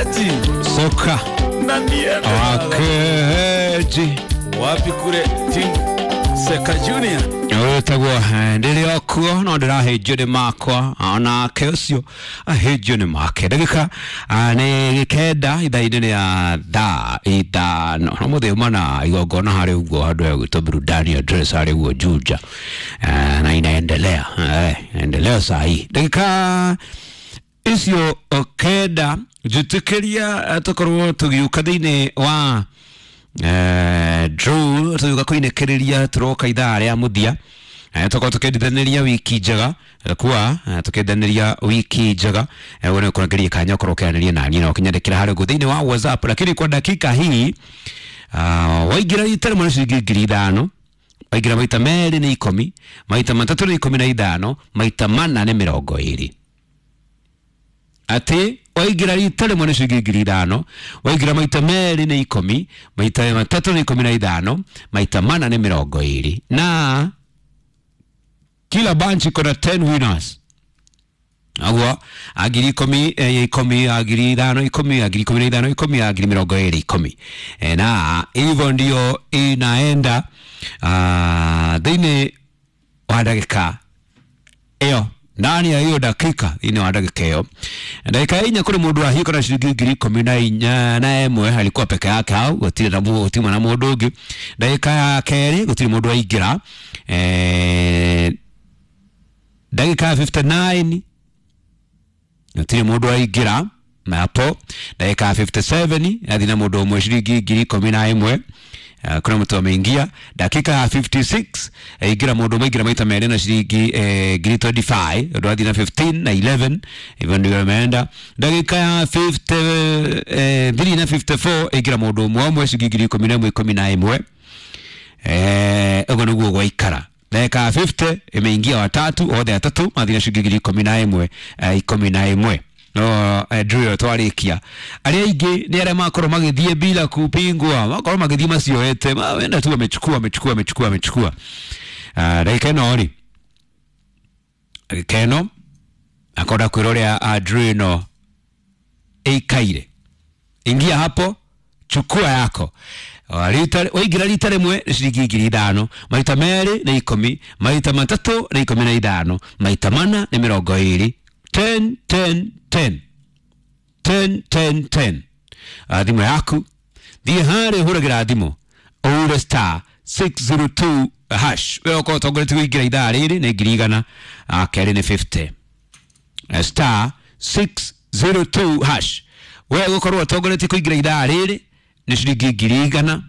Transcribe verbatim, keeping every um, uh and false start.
Wakeji Soka na niende baba. Wakeji. Wapi kule Team Seka Junior. Wĩtagwo ndĩrĩ o kuo no ndĩrahĩnjio nĩ makwa onake ũcio ahĩnjio nĩ make. Ndagĩka ah, nĩ kenda ithaa-inĩ rĩa thaa ithano no mũthĩ uma na igongona harĩ ũguo handũ hegwĩtwo burudani address harĩ ũguo Juja. Eh, na inaendelea eh, inaendelea saa hii ndagĩka icio kenda njĩtĩkĩria eh, tũkorwo tũgĩũka thĩinĩ wa eh, draw tũgĩũka kũinĩkĩrĩria tũroka ithaa rĩa mũthia. Eh, tũkorwo tũkĩendithanĩria wiki njega eh, kwa eh, tũkĩendanĩria wiki njega. eh, wewe nĩũkũrangeria kanya ũkorwo ũkĩaranĩria naniĩ na ũkĩnyandĩkĩra harĩa ũguo thĩinĩ wa WhatsApp, lakini kwa dakika hii uh, waingĩra rita rĩmwe nĩ ciringi ngiri ithano, waingĩra maita merĩ nĩ ikũmi, maita matatũ nĩ ikũmi na ithano, maita mana nĩ mĩrongo ĩrĩ. Atĩ waingĩra rita rĩmwe nĩ ciringi ngiri ithano, waingĩra maita merĩ nĩ ikũmi, maita matatũ nĩ ikũmi na ithano, maita mana nĩ mĩrongo ĩrĩ. Na kila bunch iko na ten winners. Aguo agiri ikũmi eh, ikũmi, agiri ithano ikũmi, agiri ikũmi na ithano ikũmi, agiri mĩrongo ĩrĩ ikũmi. Eh, na hivyo ndio inaenda ah, thĩinĩ wa ndagĩka ĩyo, ndani ya hiyo dakika, thĩinĩ wa ndagĩka ĩyo, ndagĩka ya inya, kũrĩ mũndũ wahiũka na ciringi ngiri ikũmi na inya na ĩmwe. Alikuwa peke yake hau, gũtirĩ na mũ- gũtirĩ na mũndũ ũngĩ. Ndagĩka ya kerĩ gũtirĩ mũndũ waingĩra. eh, ndagĩka ya fifty-nine gũtirĩ mũndũ waingĩra na hapo. Ndagĩka ya fifty-seven yathi na mũndũ ũmwe ciringi ngiri ikũmi na ĩmwe. Eh, kuna mtu ameingia. Dakika ya fifty-six eh, ingira mũndũ ũmwe, ingĩra maita merĩ na ciringi eh, ngiri twenty-five, ũndũ athi na fifteen na eleven. Hivyo ndio ameenda. Dakika ya fifty-three na fifty-four ingĩra mũndũ ũmwe ũmwe ciringi ngiri ikũmi na ĩmwe ikũmi na ĩmwe. Eh, ũguo nĩguo gwaikara. Dakika ya fifty imeingia watatu, othe atatu mathi na ciringi ngiri ikũmi na ĩmwe eh, ikũmi na ĩmwe. No eh, drill twarikia arĩa aingĩ nĩ arĩa makorwo magĩthiĩ bila kupingwa, makorwo magĩthiĩ macioete, wenda tu amechukua, amechukua, amechukua, amechukua. Ah, ndagĩka ĩno rĩ, ndagĩka ĩno akonda kwĩra ũrĩa drill ĩno ĩikaire. Ingia hapo, chukua yako. Rita- waingĩra rita rĩmwe nĩ ciringi ngiri ithano, maita merĩ nĩ ikũmi, maita matatũ nĩ ikũmi na ithano, maita mana nĩ mĩrongo ĩrĩ. ten ten ten ten ten ten. Ah, thimũ yaku thiĩ harĩa ũhũragĩra thimũ ũhure star six zero two hash. We ũkorwo ũtongoretie kũingĩra ithaa rĩrĩ nĩ ngiri igana, ah, kerĩ nĩ fifty. Eh, star six zero two hash, we gũkorwo ũtongoretie kũingĩra ithaa rĩrĩ nĩ ciringi ngiri igana.